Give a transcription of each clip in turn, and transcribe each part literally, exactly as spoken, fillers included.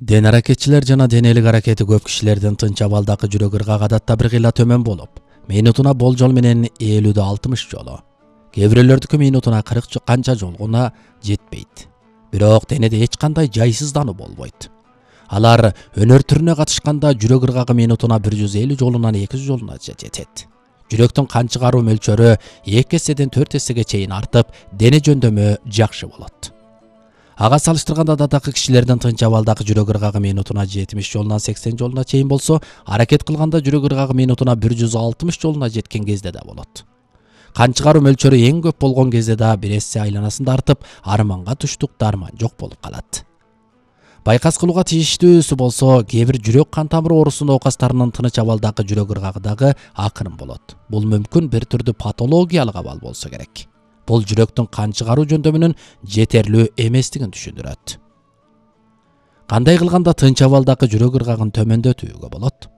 Ден аракетчилер жана денелик аракети көп кишилердин тынч абалдагы жүрөк ыргагы адатта бир кыйла төмөн болуп, минутуна болжол менен элүүдө алтымыш жолу, кээ бирөөлөрдүкү минутуна кырк канча жолгуна жетпейт. Бирок денеде эч кандай жайсыздануу болбойт. Алар өнөр түрүнө катышканда жүрөк ыргагы минутуна бир жүз элүү жолунан эки жүз жолуна жетет. Жүрөктүн кан чыгаруу мөлчөрү эки эседен төрт эсеге чейин артып, дене жөндөмү жакшы болот. Ага салыштырганда адаттагы кишилердин тынч абалдагы жүрөк ыргагы минутуна жетимиш жолунан сексен жолуна чейин болсо, аракет кылганда жүрөк ыргагы минутуна бир жүз алтымыш жолуна жеткен кезде да болот. Кан чыгаруу мөлчөрү эң көп болгон кезде да бир эсе айланасында артып, арманга туштук дарман жок болуп калат. Байкас кылууга тийиштүүсү болсо, кээ бир жүрөк кан тамыры оорусу оокастарынын тыныч абалдагы жүрөк ыргагы дагы акырын болот. Бул мүмкүн бир түрдүү патологиялык абал болсо керек. Бул жүрөктүн кан чыгаруу жөндөмүнүн жетерлүү эместигин түшүндүрөт. Кандай кылганда тынч абалдагы жүрөк ыргагын төмөндөтүүгө болот?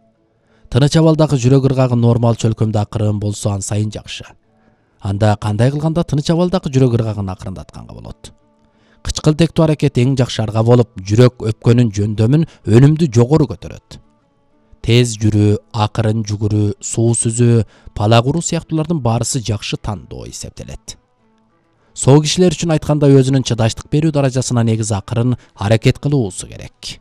Тыныч абалдагы жүрөк ыргагы нормал чөлкөмдө акырын болсо ан сайын жакшы. Анда кандай кылганда тыныч абалдагы жүрөк ыргагын акырындатканга болот? Кычкылтектүү аракет эң жакшы арга болуп, жүрөк өпкөнүн жөндөмүн өнүмдүү жогору көтөрөт. Тез жүрүү, акырын жүгүрүү, суу сүзүү, палак уруу сыяктуулардын баарысы жакшы тандоо эсептелет. Соо кишилер үчүн айтканда өзүнүн чыдаштык берүү даражасына негиз акырын аракет кылуусу керек.